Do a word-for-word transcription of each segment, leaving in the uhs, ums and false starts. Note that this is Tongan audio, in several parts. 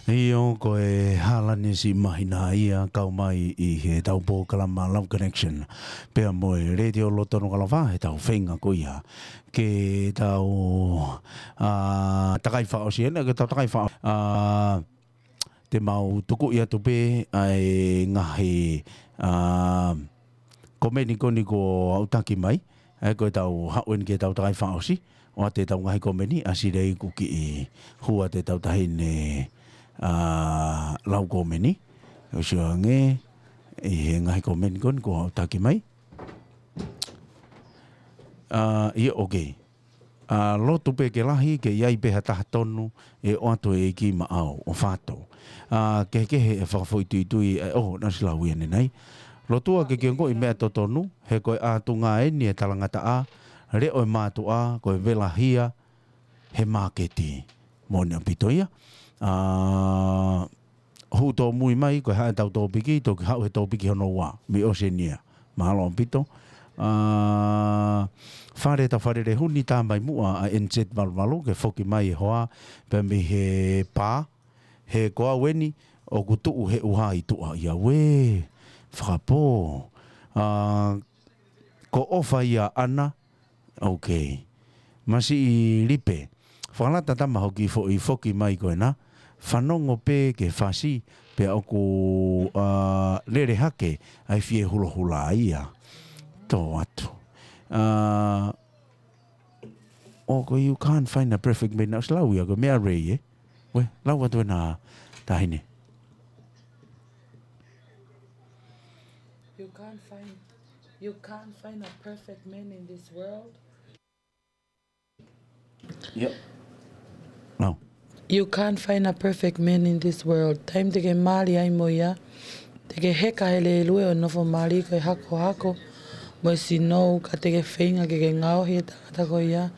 ʻIo, ko e hala ni siʻi māhina ia kau mai ʻi heʻetau polokalama Love Connection pea mo e Letiō Loto Nukalava, heʻetau feinga ko ia ke tau, ā, takai fakaʻosi eni, ke tau takai fakaʻosi. Ā, te mau tukuʻi atu pē ʻa e ngaahi, ā, komeni ko eni kuo aʻutaki mai, ʻa ia ko ʻetau haʻu eni ke tau takai fakaʻosi, ʻoatu ʻetau ngaahi komeni, ʻa Silei kuo kiʻi hū atu ʻetau taʻahine, ā, lau komeni, ʻo sio ange, ʻi he ngaahi komeni ko eni kuo aʻutaki mai. Ā, ʻio, okay. Ā, lotu pē ke lahi, ke ʻi ai pē ha taha tonu, ʻe ʻoatu ʻe he ʻEiki maʻau, ʻo fato. Ā, kehekehe e fakafoʻituitui, ē, ʻo, naʻe ʻosi lau ia ʻanenai. Lotua ke ke ongoʻi meʻa totonu, he ko e ʻatunga eni e talangataʻa, leʻo e mātuʻa, ko e vela hia, he māketi. Moʻoni ʻaupito ia. Ā, hū tōmui mai, ko e hā ʻetau tōpiki, toki haʻu he tōpiki hono ua, mei ʻOsenia. Mālō ʻaupito. Ā, Fale, ta Fale Lehuni, tā mai muʻa ʻa N Z valu valu, ke foki mai e hoa, pea mei he pā, he ko au eni, ʻoku tuʻu he ʻuha ʻi tuʻa ia, uē, fakapō. Ā, ko ʻOfa ia ʻAna, okay. Masiʻi Lipe. Fakalata tama hoki foʻi foki mai ko ena. Fanongo pē ke fasi, pea ʻoku, ā, lele hake ʻa e fie hulahula ia. Tō atu. Ā, ʻo ko e You Can't Find a Perfect Man, naʻe ʻosi lau ia, ko e meʻa lelei, ē? Uē, lau atu ena taʻahine. You can't find, you can't find a perfect man in this world. Yep. No. You can't find a perfect man in this world. Taimi te ke mali ai mo ia, te ke heka he lēlue ʻo e nofo mali ko e hakohako mo e sinou, ka te ke feinga ke ke ngaohi e tangata ko ia,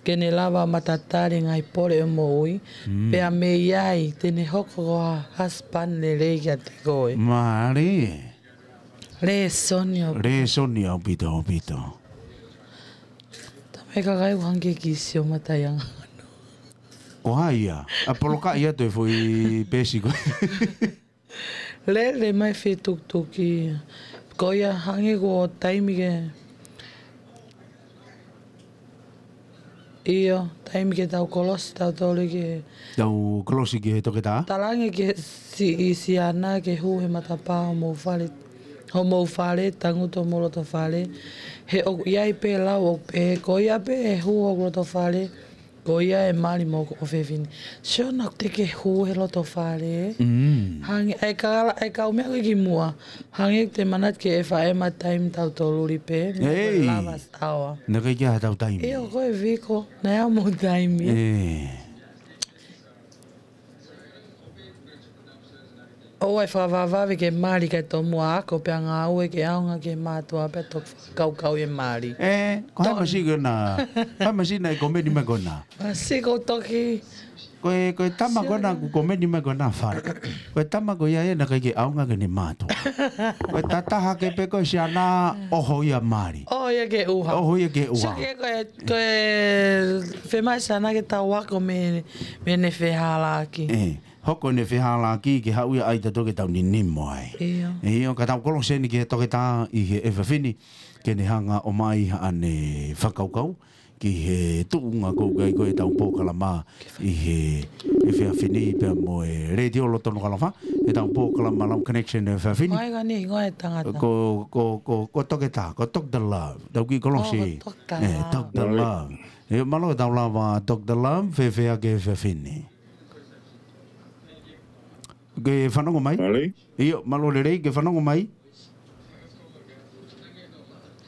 ke ne lava matatali e ngaahi pole ʻo e moʻui, mm, pea mei ai te ne hoko ko ha husband lelei kiate koe. Mālie. Lēsoni ʻaupito. Lēsoni ʻaupito, ʻaupito. Tama e kakai ʻoku hangē ke kisi ʻo matai anga. Ko hai ia? ʻA polokaʻi atu e foʻi peesi ko ē. Lele mai fie tukituki. Ko ia hangē ko e taimi ke ʻIo, taimi ke tau kolosi tautolu ki he. Tau kolosi ki he toketā? Talaange ki he siʻi siana ke hū he matapā homou fale, homou fale, tangutu homou loto fale. He ʻoku ʻi ai pē lau ʻoku pehē, ko ia pē ʻe hū hoku loto fale, ko ia ʻe mali mo hoku ʻofefine. Siʻona, te ke hū he loto fale. Mm. Hangē, ʻa e kala, ʻa e kau meʻa ko ē ki muʻa. Hangē ʻoku te manatu ki he F M taimi tautolu luli pē, meʻa ko e Ei. Lava Sawa. Naʻe ʻikai ke ʻi ai haʻatau taimi. ʻIo, ko e viko, naʻe ʻi ai mo taimi. ʻE. ʻOua ʻe fakavavevave ke mali kae tomuʻa ako pea ngāue ke ʻaonga ki he mātuʻa pea toki fakakaukau e mali. ʻE, ko hai To- masiʻi ko ena, hai masiʻi naʻe komeni mai ko ena. Masiʻi ko toki Ko e, ko e tama ko ena kuo komeni mai ko ena Fale. Ko e tama ko ia ia naʻe ʻikai ke ʻaonga ki heʻene mātuʻa. Ko e tataha ke pē ko e siana ʻoho ia mali. ʻOho ia ki he ʻuha. ʻOho ia ki he ʻuha. Sio ki he ko e, ko e fiemaʻu siana ke tau ako mei, mei heʻene fehālaaki. ʻE, hoko ʻene fehālaaki ke haʻu ia ai tautolu ke tau ninimo ai. ʻIo. ʻIo, ka tau kolosi eni ki he toketā ʻi he efiafi ni, ke ne hanga ʻo ʻomai haʻane fakakaukau ki he tuʻunga ko ē ʻoku ʻi ai ko ē ʻetau polokalama ʻi he efiafi ni pea mo e Letiō Loto Nukalava, ʻetau polokalama Love Connection he efiafi ni. Ko e hingoa e tangata. Ko, ko, ko, ko Toketā, ko Doctor Love. Tau kiʻi kolosi. Oh, ko Doctor Love. Doctor Love. ʻIo, mālō ʻetau lava Doctor Love, fēfē hake he efiafi ni? Ke fanongo mai? Mālō. ʻIo, mālō lelei, ke fanongo mai?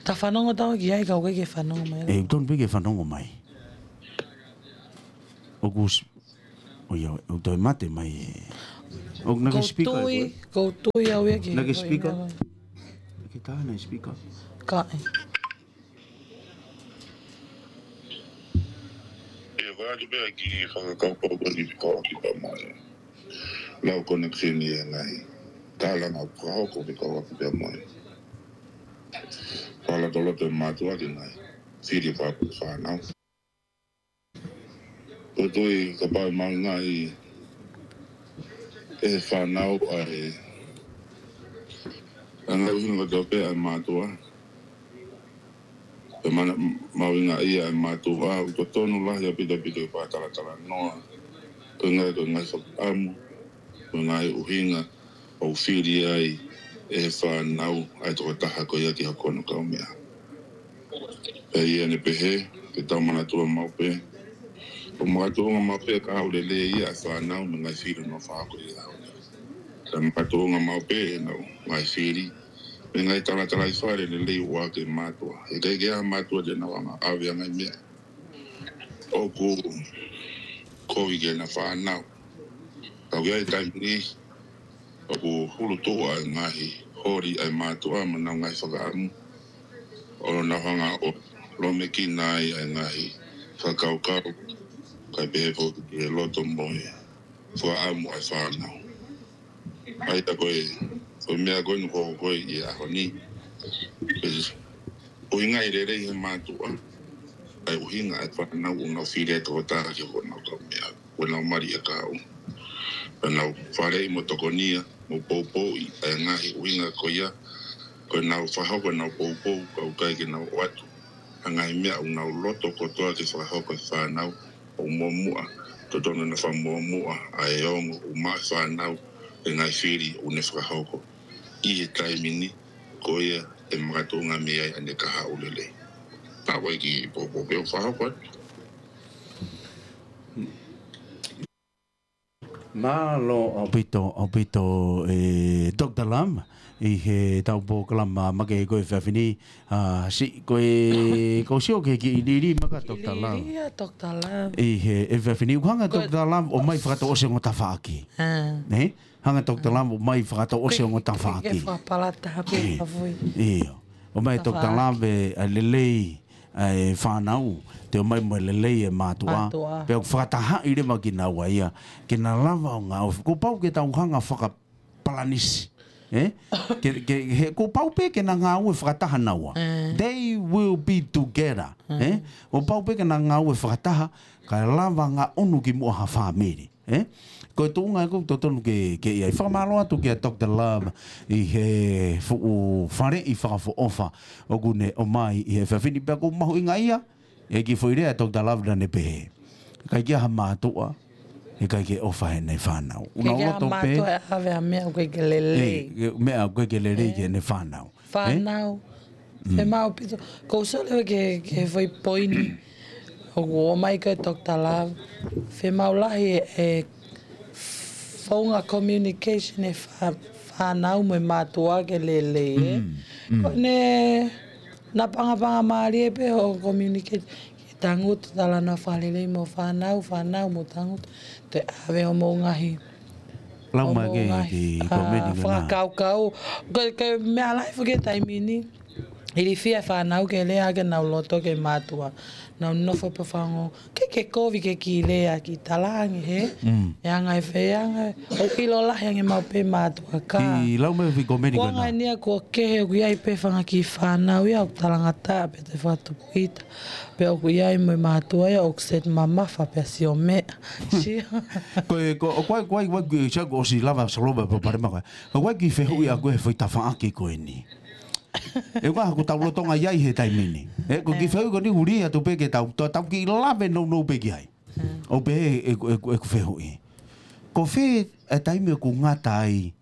Ta fanongo tau ki ai ka ʻoku ʻikai ke fanongo mai. ʻE, ʻoku tonu pē ke fanongo mai. ʻOku s-, ʻo ia, ʻoku toe mate mai ē. ʻOku naʻe ʻikai speaker ʻe koe? Kou tui, kou tui au ia ki he. Naʻe ʻikai speaker? Naʻe ʻikai tā naʻe speaker. Kae. ʻE, ko e ʻatu pē ʻa e kiʻi fakakaukau ko eni fekauʻaki pea mo e Love Connection ʻi he ngaahi tālanga fakahoko fekauʻaki pea mo e fakalotoloto ʻa e mātuʻa ki he ngaahi fili fakapuleʻanga fānau. Ko e tui kapau ʻe mahuʻinga ʻi ʻe he fānau ʻa e anga ʻuhinga kotoa pē ʻa e mātuʻa. Pea mana mahuʻinga ia ʻa e mātuʻa, ʻoku totonu lahi ʻaupito ʻaupito ke fakatalatalanoa. Ko e ngaahi, ko e ngaahi fakaʻamu, ko e ngaahi ʻuhinga ʻoku fili ai ʻe he fānau ʻa e tokotaha ko ia ki hono kaumeʻa. Pea ʻi heʻene pehē, ke tau manatua maʻu pē, ʻoku makatuʻunga maʻu pē ʻa e kahaʻu lelei ia ʻa e fānau mo e ngaahi fili ʻoku nau fakahoko ʻi he ʻaho ni. Pea makatuʻunga maʻu pē ʻenau ngaahi fili mo e ngaahi talatalaifale lelei ʻoku ʻohake ʻe he mātuʻa. ʻIkai ke ʻi ai ha mātuʻa te nau hanga ʻo ʻave ʻa e ngaahi meʻa ʻoku kovi ki heʻena fānau. Ka ʻoku ʻi ai e taimi ni ʻoku hulutuʻa e ngaahi holi ʻa e mātuʻa mo ʻenau ngaahi fakaʻamu, ʻo nau hanga ʻo lōmekina ai ʻa e ngaahi fakakaukau, kae pehē foki ki he loto mo e fakaʻamu ʻa e fānau. ʻA ia ko e, ko e meʻa ko eni ʻoku hoko ʻi he ʻaho ni, ʻoku ʻuhinga lelei ʻe he mātuʻa ʻa e ʻuhinga ʻa e fānau ʻoku nau fili ai e tokotaha ki honau kaumeʻa, ʻoku nau mali ʻa e kahaʻu. Pea nau faleʻi mo tokonia mo poupouʻi ʻa e ngaahi ʻuhinga ko ia, ko ʻenau fakahoko ʻenau poupou, ka ʻoku ʻikai ke nau ʻoatu ʻa e ngaahi meʻa ʻoku nau loto kotoa ke fakahoko ʻe he fānau. ʻOku muʻomuʻa, totonu naʻa fakamuʻomuʻa ʻa e ongo ʻoku maʻu ʻe he fānau ʻa e ngaahi fili ʻoku ne fakahoko ʻi he taimi ni, ko ia ʻe makatuʻunga mei ai ʻene kahaʻu lelei. Pea ʻoku ʻikai ke poupou pē ʻo fakahoko atu. Mālō ʻaupito, ʻaupito ʻe Doctor Lam, ʻi heʻetau polokalama makehe ko e efiafi ni, ʻa, siʻi ko e, ʻoku ou sio ki he kiʻi lili mai ʻa Doctor Lam. Lili ʻa Doctor Lam. ʻI he efiafi ni, ʻoku hanga ʻe Doctor Lam ʻo ʻomai fakatouʻosi ongo tafaʻaki. Ē? Hanga ʻe Doctor Lam ʻo ʻomai fakatouʻosi ongo tafaʻaki. Ke fakapalata ha pē ka fui. ʻIo. ʻOmai ʻe Doctor Lam ʻa e lelei ʻa e fānau, toe ʻomai mo e lelei ʻa e mātuʻa. Mātuʻa. Pea ʻoku fakatahaʻi leva kinaua ia, ke na lava ʻo ngāue. Kuo pau ke tau hanga fakapalanisi. Ē? Ke, ke, he, kuo pau pē ke na ngāue fakataha naua. Ē. They will be together. Ē? Kuo pau pē ke na ngāue fakataha, kae lava ngaʻunu ki muʻa ha fāmili. Ē? Ko e tuʻunga ʻoku totonu ke, ke ʻi ai. Fakamālō atu kia Doctor Lam ʻi he fuʻu faleʻi fakaʻofoʻofa ʻoku ne ʻomai ʻi he efiafi ni, pea ʻoku mahuʻinga ia, ʻa e kiʻi foʻi lea ʻa Doctor Lam naʻa ne pehē, ʻikai ke ʻi ai ha mātuʻa ʻe ʻikai ke ʻofa heʻene fānau. ʻOku nau loto pē. ʻIkai ke ʻi ai ha mātuʻa ʻe ʻave ha meʻa ʻoku ʻikai ke lelei. Ē, meʻa ʻoku ʻikai ke lelei ki heʻene fānau. Ē? Fānau. Mm. Fiemaʻu ʻaupito. ʻOku ou sio leva ki he, ki he foʻi poini ʻoku ʻomai ko ē ʻe Doctor Lam. Fiemaʻu lahi e founga communication ʻa e fā-, fānau mo e mātuʻa ke lelei, ē? Mm, mm. Ko ʻene napangapanga mālie pē hoʻo communicate. Ke tangutu talanoa fakalelei mo e fānau, fānau mou tangutu. Toe ʻave hoʻomou ngaahi, lau mai hoʻomou ke, ngaahi, ke ʻa, komeni ko ena. Fakakaukau. Ko, ko e meʻa lahi foki he taimi ni. Ilifia e fānau ke lea ke nau loto ki he mātuʻa. Nau nofo pē ʻo fanongo. ʻIkai ke kovi ke kiʻi lea, kiʻi talaange, hē? Mm. ʻE anga e fē, ʻe anga e, ʻoku ʻilo lahi ange maʻu pē mātuʻa ka. Kiʻi lau mai e foʻi komeni ko ena. Ko e anga eni ia kuo kehe ʻoku ʻi ai pē fanga kiʻi fānau ia ʻoku talangataʻa pē te fakatupu ʻita. Pea ʻoku ʻi ai mo e mātuʻa ia ʻoku set mamafa pea sio meʻa. Sio. Ko e, ko, ʻoku ʻi ai, ʻoku ʻi ai, ʻoku ʻi ai, sia kuo ʻosi lava soloba pea palema ko ē. ʻOku ʻi ai e kiʻi fehuʻi ʻaʻaku he foʻi tafaʻaki ko eni. ʻE ʻoku ʻi ai haʻaku tau lolotonga ʻi ai he taimi ni. Ē, ko e kiʻi fehuʻi ko eni ʻoku lī atu pē ke tau, tau, tau kiʻi lave nounou pē ki ai. ʻOku pehē ʻeku, ʻeku, ʻeku fehuʻi. Ko fē e taimi ʻoku ngata ai,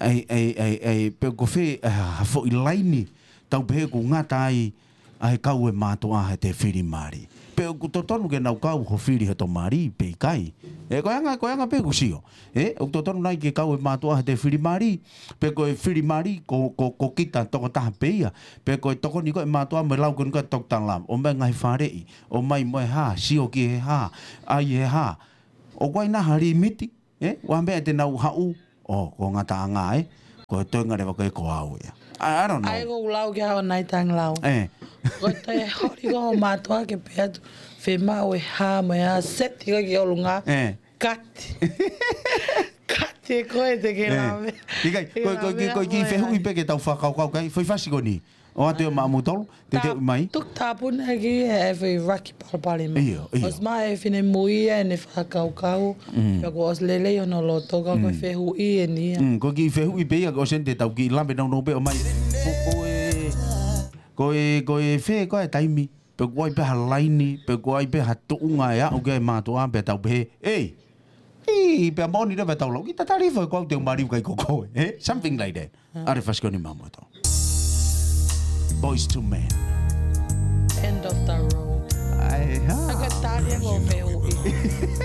ai, ai, ai, ai, pe ko fē, ʻa, ha foʻi laini, tau pehē ʻoku ngata ai, ʻa e kau e mātuʻa heʻete fili mali. Pe ʻoku totonu ke nau kau ho fili heʻeto mali, pe ʻikai. Ē, ko e anga, ko e anga pē ʻeku sio. Ē, ʻoku totonu nai ke kau e mātuʻa heʻete fili mali, pe ko e fili mali, ko, ko, ko kita tokotaha pē ia. Pe ko e tokoni ko ē mātuʻa mo e lau ko eni ko ē ʻa Doctor Lam, ʻomai ngaahi faleʻi, ʻomai mo e hā, sio ki he hā, ʻai he hā. ʻOku ʻi ai nai ha limiti, ē? ʻA e meʻa te nau haʻu, ʻo, ko e ngataʻanga, ē? Ko e toenga leva ko ē ko au ia. I, I don't know. ʻAi ko e lau ke hao nai tang lau. Ē. Ko e toe holi ko e mātuʻa ke pehē atu, fiemaʻu e hā mo e hā, seti ko ē ki ʻolunga. Ē. Kati. Kati ē ko ē te ke lave. ʻIkai, ko, ko, ko, ko e kiʻi fehuʻi pē ke tau fakakaukau ki ai, foʻi fasi ko eni. ʻOatu ia maʻamutolu, te te ʻomai. Tuku tāpuni ʻaki he ʻefi raki palopalema. ʻIo, ʻio. ʻOsi maʻu e finemui ʻene fakakaukau. Pea kuo ʻosi lelei hono loto ka ko e fehuʻi eni ia. Mm, ko e kiʻi fehuʻi pē ia, ko ʻosi eni te tau kiʻi lave nounou pē ʻomai. Ko, ko e, ko e, ko e fē, ko e taimi. Pe ko ai pē ha laini, pe ko ai pē ha tuʻunga ʻe aʻu ki ai e mātuʻa, pea tau pehē, ei, ei, pea moʻoni leva tau lau, ki tatali foʻi ko au te u maliu kai ko koe, eh? Something like that. ʻA e fasi ko eni maʻamutolu. Boyz two Men. End of the road. Ai, ha? Aka tali e ko fehuʻi.